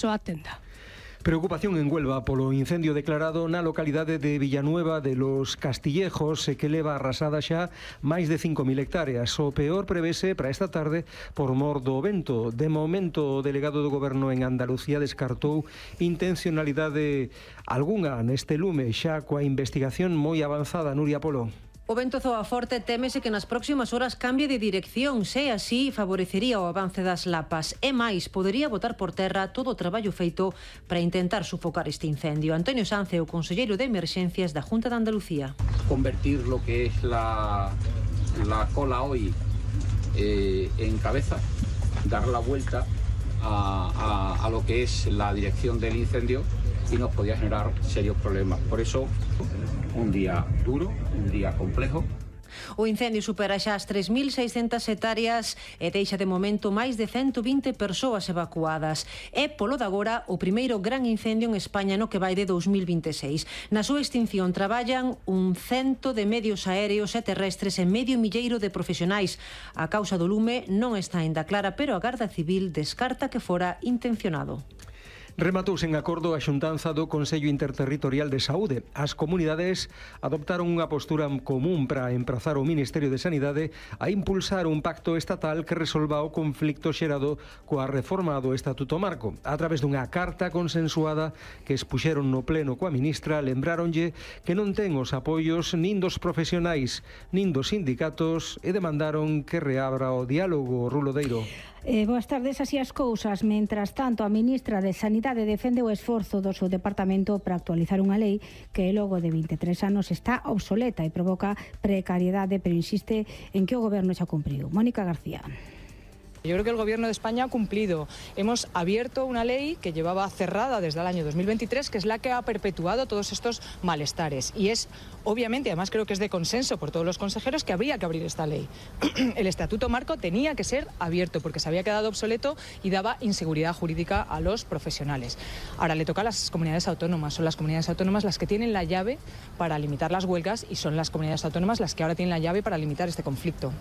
a tenda. Preocupación en Huelva polo incendio declarado na localidade de Villanueva de los Castillejos que leva arrasada xa máis de 5.000 hectáreas. O peor prevese para esta tarde por mor do vento. De momento, o delegado do Goberno en Andalucía descartou intencionalidade algunha neste lume, xa coa investigación moi avanzada. Nuria Polo. O vento zoa forte, témese que nas próximas horas cambie de dirección, se así favorecería o avance das lapas. E máis, podería botar por terra todo o traballo feito para intentar sufocar este incendio. Antonio Sanz é o conselleiro de Emerxencias da Junta de Andalucía. Convertir lo que es la cola hoy en cabeza, dar la vuelta a lo que es la dirección del incendio y nos podía generar serios problemas. Por eso, un día duro, un día complejo. O incendio supera xa as 3.600 hectáreas e deixa de momento máis de 120 persoas evacuadas. É, polo de agora, o primeiro gran incendio en España no que vai de 2026. Na súa extinción traballan 100 de medios aéreos e terrestres e medio milleiro de profesionais. A causa do lume non está aínda clara, pero a Garda Civil descarta que fora intencionado. Rematouse en acordo a xuntanza do Consello Interterritorial de Saúde. As comunidades adoptaron unha postura común para emprazar o Ministerio de Sanidade a impulsar un pacto estatal que resolva o conflicto xerado coa reforma do Estatuto Marco. A través dunha carta consensuada que expuxeron no pleno coa ministra, lembráronlle que non ten os apoios nin dos profesionais nin dos sindicatos e demandaron que reabra o diálogo. Rulo Deiro. Boas tardes, así as cousas. Mentras tanto, a ministra de Sanidade defende o esforzo do seu departamento para actualizar unha lei que logo de 23 anos está obsoleta e provoca precariedade, pero insiste en que o goberno xa cumpriu. Mónica García. Yo creo que el Gobierno de España ha cumplido. Hemos abierto una ley que llevaba cerrada desde el año 2023, que es la que ha perpetuado todos estos malestares. Y es, obviamente, además creo que es de consenso por todos los consejeros, que habría que abrir esta ley. El Estatuto Marco tenía que ser abierto porque se había quedado obsoleto y daba inseguridad jurídica a los profesionales. Ahora le toca a las comunidades autónomas. Son las comunidades autónomas las que tienen la llave para limitar las huelgas y son las comunidades autónomas las que ahora tienen la llave para limitar este conflicto.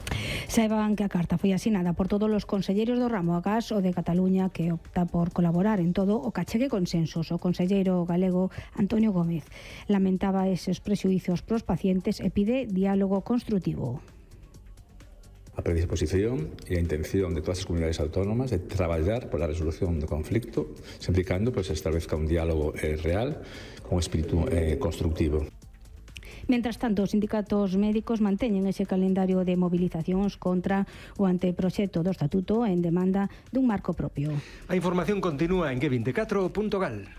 Saiban que a carta foi asinada por todos os conselleiros do ramo agás o de Cataluña, que opta por colaborar en todo o que achegue consensos. O conselleiro galego Antonio Gómez lamentaba eses prexuízos pros pacientes e pide diálogo construtivo. A predisposición e a intención de todas as comunidades autónomas de traballar pola resolución do conflicto, sempre e cando se establezca un diálogo real con espírito constructivo. Mentras tanto, os sindicatos médicos manteñen ese calendario de movilizacións contra o anteproxecto do Estatuto en demanda dun marco propio. A información continúa en G24.gal.